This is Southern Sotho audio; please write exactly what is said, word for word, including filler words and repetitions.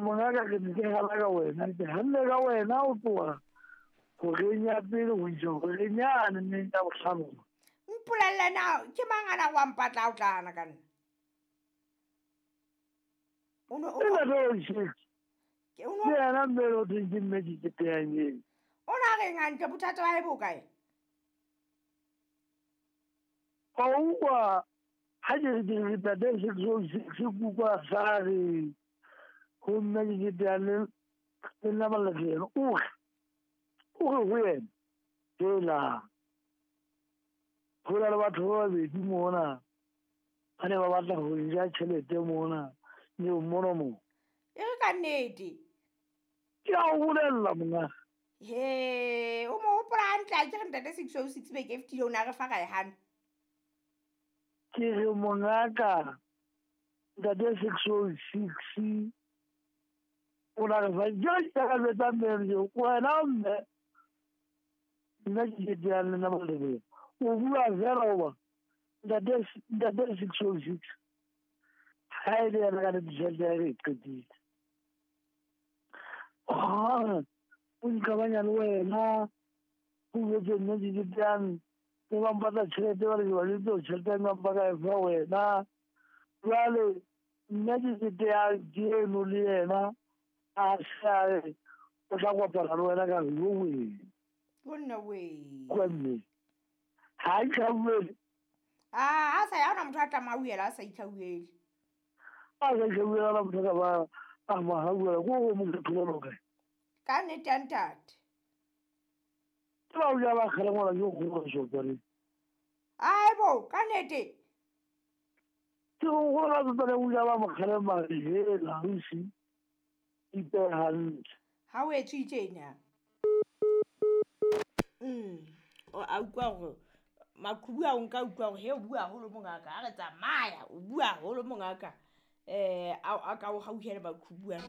Mongaka ke ne ke gala ka wena, ke ganne ka wena o tloga goreng ya pele go isa goreng yane neng ya botlhano. Mpolelle na ke mang a na go ampatla o tlana ka nna? O no o ke yena mme o thweng ke mme diketeang eo. O na reng hantle bothata ba hae bo kae? Wa utlwa ha ke re ke re ntate six oh six ke utlwa sa re ho mme diketeang le le nna Malefelo o re o re ho yena hela ho na le batho ba babedi mona ba ne ba batla ho ja tjhelete mona nyeong mono mo. E re ka nnete. Ke a o bolella monga. He, o mo hopola hantle a ke re ntate six oh six beke e fetile o ne a re fa ra e hana. Ke re mongaka ntate six oh six o na re fa jwale ke ka jwetsa mme wena mme nna ke keteang le nna Malebelo o bua fela hoba ntate ntate six oh six ha e le yena ka nnete tjhelete ya hae re e qetile. O nqabanya le wena o jwetse nna ke keteang ke ba mpatla tjhelete ba re ke ba jwetse hore tjhelete ya nka ka e fa wena. Jwale nna ke keteang ke eno le yena a sa re o tla kopana le wena ka re yo wena. Gonna wee. Kwa mme ha itlhauele. Ah, a sa ya hona motho a tla mauela a sa itlhauele. A sa itlhauela la motho ka ba a mo hauela ko go mo thola kae. Ka nnete ya ntate. Ke ba o ja ba kgale ngwana yo go go sopare. Ai bo, ka nnete. Ke go go la tsotsa o ja ba mo kgale mare hela ausi. Ipe hantle. Ha o etswe tjena. Mm, o a utlwa hore maqhubu a o nka utlwa hore he o bua haholo mongaka, ha re tsamaya o bua haholo mongaka. Eh a a ka o hauhele maqhubu ana.